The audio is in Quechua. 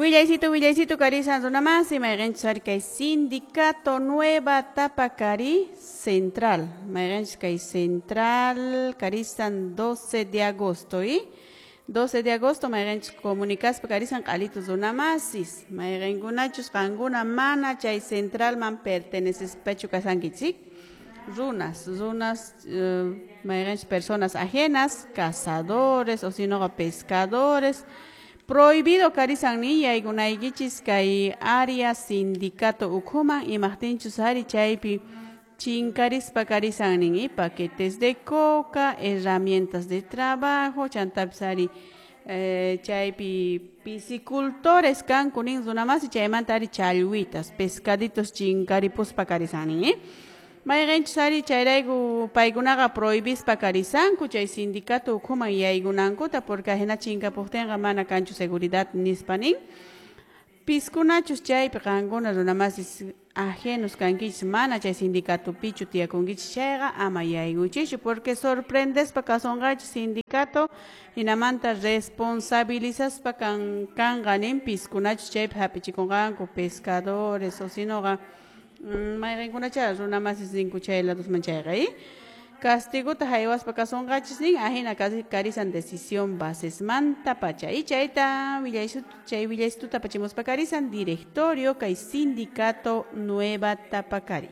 Willaycito, willaycito, karisan runamasi, mayqinchus ari kay Sindicato Nueva Tapacari Central, mayqinchus kay Central karisan 12 de agosto, y 12 de agosto mayqinchus comunicaspa karisan q'alitu runamasis, mayqinkunachus qankuna mana chay centralman pertenecespachu kasankichik, runas, runas, mayqinchus personas ajenas, cazadores o si no pescadores, prohibido karisan ni yaykunaykichis kay área sindicato ukhuman imaqtinchus ari chaypi chinkarispa karisan nin y paquetes de coca, herramientas de trabajo, chantapis ari chaypi piscicultores kanku nin runamasi chaymanta ari challwitas, pescaditos chinkaripuspa karisan nin, ¿eh? Mayqinchus ari chayrayku paykunaqa prohibispa karisanku chay sindicato ukhuman yaykunankuta porque ajina chinkapuqtinqa mana kanchu seguridad nispa nin. Piskunachus chaypi qankuna runamasis ajenos kankichis mana chay sindicatopichu tiyakunkichis chayqa ama yaykuychischu porque sorprendespa kasunqachis sindicato hinamanta responsabilizaspa kan kanqa nin piskunachus chaypi hap'ichikunqanku pescadores o sinoqa mayqinkunacha runamasis ninku chay ladosman chayqa, ¿eh? Castigota haywaspa kasunqachis nin ajina karisan decisión basesmanta pacha y chayta chay willaysututa apachimuspa karisan directorio kay Sindicato Nueva Tapacari.